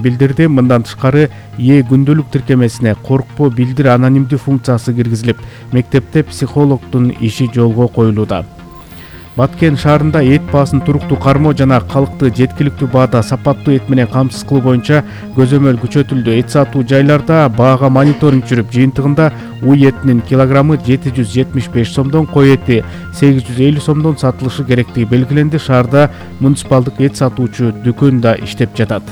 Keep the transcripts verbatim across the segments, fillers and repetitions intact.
билдирди. Мындан тышкары Е күндөлүк тиркемесине коркпо билдир анонимдүү функциясы киргизилип, мектепте психологдун иши жолго коюлууда. Баткен шаарында эт баасын туруктуу кармоо жана калкты жеткиликтүү баада сапаттуу эт менен камсыз кылуу боюнча көзөмөл күчөтүлдү. Эт сатуу жайларда баага мониторинг жүрүп, жыйынтыгында уй этинин килограммы жети жүз жетимиш беш сомдон, кой эти сегиз жүз элүү сомдон сатылышы керектиги белгиленди. Шаарда муниципалдык эт сатуучу дүкөн да иштеп жатат.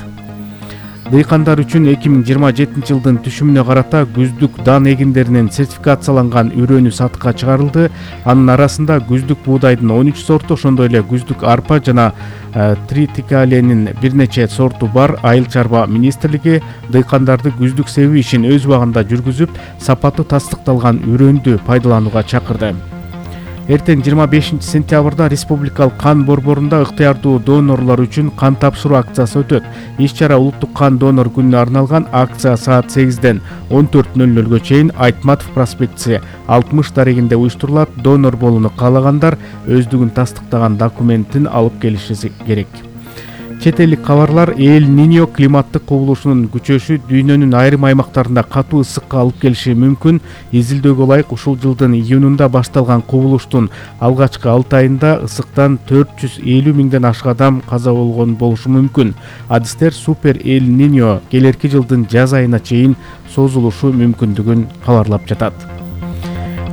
Дыйкандар үчүн эки миң жыйырма жетинчи жылдын түшүмүнө карата күздүк дан эгиндеринин сертификацияланган үрөнү сатыкка чыгарылды. Анын арасында күздүк буудайдын он үч сорту, ошондой эле күздүк арпа жана тритикаленин бир нече сорту бар. Айыл чарба министрлиги дыйкандарды күздүк себүү ишин өз убагында жүргүзүп, сапаты тастыкталган үрөндү пайдаланууга чакырды. Эртең жыйырма бешинчи сентябрда республикалык кан борборунда ыктыярдуу донорлор үчүн кан тапшыруу акциясы өтөт. Иш-чара улуттук кан донор күнүнө арналган. Акция саат сегизден он төрт нөл нөлгө чейин Айтматов проспектиси алтымыш дарегинде уюштурулат. Донор болууну каалагандар өздүгүн тастыктаган документин алып келиши керек. Чет элдик кабарлар. Эль-Ниньо климаттык кубулушунун күчөшү дүйнөнүн айрым аймактарында катуу ысыкка алып келиши мүмкүн. Изилдөөгө ылайык ушул жылдын июнунда башталган кубулуштун алгачкы алты айында ысыктан төрт жүз элүү миңден ашык адам каза болгон болушу мүмкүн. Адистер супер Эль-Ниньо келерки жылдын жаз айына чейин созулушу мүмкүндүгүн кабарлап жатат.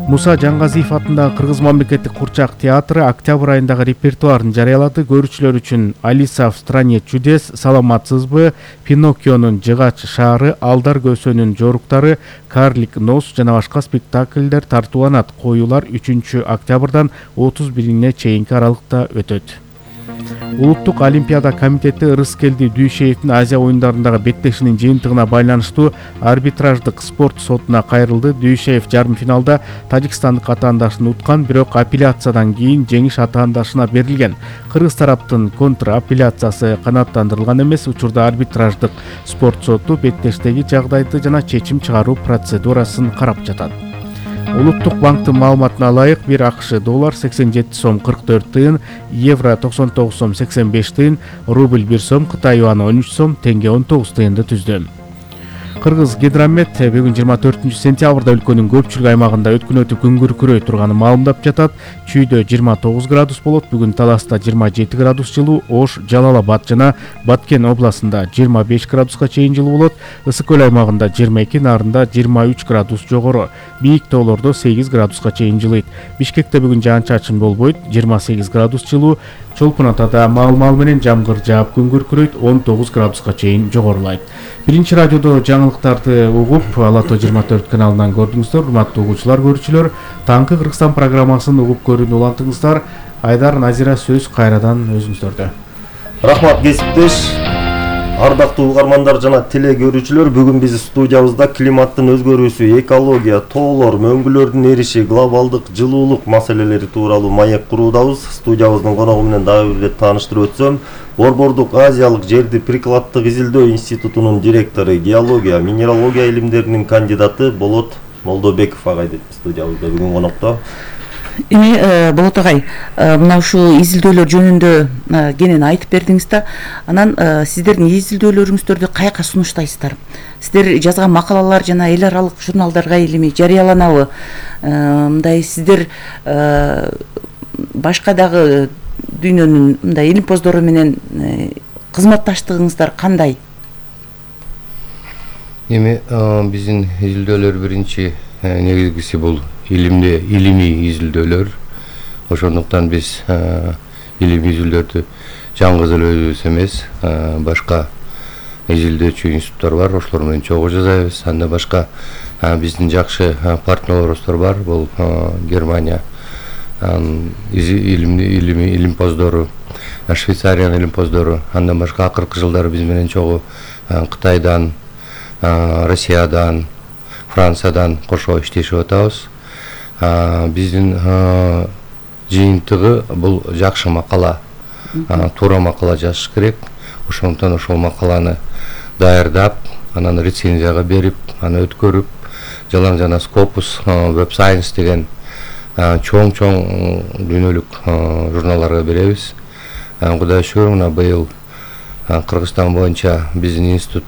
Муса Жангазиев атындагы Кыргыз мамлекеттик курчак театры октябрь айындагы репертуарын жарыялады. Көрүүчүлөр үчүн Алиса в стране чудес, Саламатсызбы, Пиноккионун жыгач шаары, Алдар көсөнүн жоруктары, Карлик нос жана башка спектакльдер тартууланат. Коюулар үчүнчү октябрдан отуз бирине чейинки аралыкта өтөт. Улуттук олимпиада комитети Ырыскелди Дүйшеевдин Азия оюндарындагы беттешинин жыйынтыгына байланыштуу арбитраждык спорт сотуна кайрылды. Дүйшеев жарым финалда тажикстандык атаандашын уткан, бирок апелляциядан кийин жеңиш атаандашына берилген. Кыргыз тараптын контр апелляциясы канааттандырылган эмес. Учурда арбитраждык спорт соту беттештеги жагдайды жана чечим чыгаруу процедурасын карап жатат. Улуттук банктын маалыматына ылайык бир АКШ доллар сексен жети сом кырк төрт тыйын, евро токсон тогуз сом сексен беш тыйын, рубль бир сом, Кытай юаны он үч сом, тенге он тогуз тыйынды түздү. Кыргыз гидромет бүгүн жыйырма төртүнчү сентябрда өлкөнүн көпчүлүк аймагында өткүн өтүп күн күркүрөй турганын маалымдап жатат. Чүйдө жыйырма тогуз градус болот, бүгүн Таласта жыйырма жети градус жылуу, Ош, Жалал Абад жана Баткен областында жыйырма беш градуска чейин жылуу болот. Ысык көл аймагында жыйырма эки, Нарында жыйырма үч градус жогору, бийик тоолордо сегиз градуска чейин жылыйт. Бишкекте бүгүн жаан-чачын болбойт, жыйырма сегиз градус жылуу. Чолпун Атада мал-мал менен жамгыр жаап күн күркүрөйт, он тогуз градуска чейин жогорулайт. Биринчи радиодо жаңылыктарды угуп, Алато жыйырма төрт каналынан көрдүңүздөр. Урматтуу угуучулар, көрүүчүлөр, таңкы Кыргызстан программасын угуп көрүүнү улантыңыздар. Айдар, Назира, сөз кайрадан өзүңүздөрдө. Рахмат кесиптеш. Ардактуу угармандар жана теле көрүүчүлөр, бүгүн биз студиябызда климаттын өзгөрүүсү, экология, тоолор, мөңгүлөрдүн эриши, глобалдык жылуулук маселелери тууралуу маек куруудабыз. Студиябыздын коногу менен дагы бир тааныштырып өтсөм, Борбордук Азиялык жерди прикладдык изилдөө институтунун директору, геология, минералогия илимдеринин кандидаты Болот Молдобеков агай деп студиябызда бүгүн конокто. Эми Болот агай, мына ушул изилдөөлөр жөнүндө кенен айтып бердиңиз да, анан сиздердин изилдөөлөрүңүздөрдү каяка сунуштайсыздар? Сиздер жазган макалалар жана эл аралык журналдарга илими жарыяланабы? Мындай сиздер башка дагы дүйнөнүн мындай илимпоздору менен кызматташтыгыңыздар кандай? Эми биздин изилдөөлөр биринчи негизгиси бул илимде илимий изилдөөлөр. Ошондуктан биз илимий изилдөөлөрдү жалгыз эле өзүбүз эмес, башка изилдөөчү институттар бар, ошолор менен чогуу жасайбыз. Анда башка биздин жакшы партнерлорубуз бар, бул Германия илимий илимий илимпоздору, Швейцариянын илимпоздору, андан башка акыркы жылдары биз менен чогуу Кытайдан, Россиядан, Франциядан кошо иштешип атабыз. Биздин жыйынтыгы бул жакшы макала, туура макала жазыш керек. Ошондуктан ошол макаланы даярдап, анан рецензияга берип, аны өткөрүп, жалаң жана Scopus, Web Science деген чоң-чоң дүйнөлүк журналдарга беребиз. Кудайга шүгүр, мына быйыл Кыргызстан боюнча биздин институт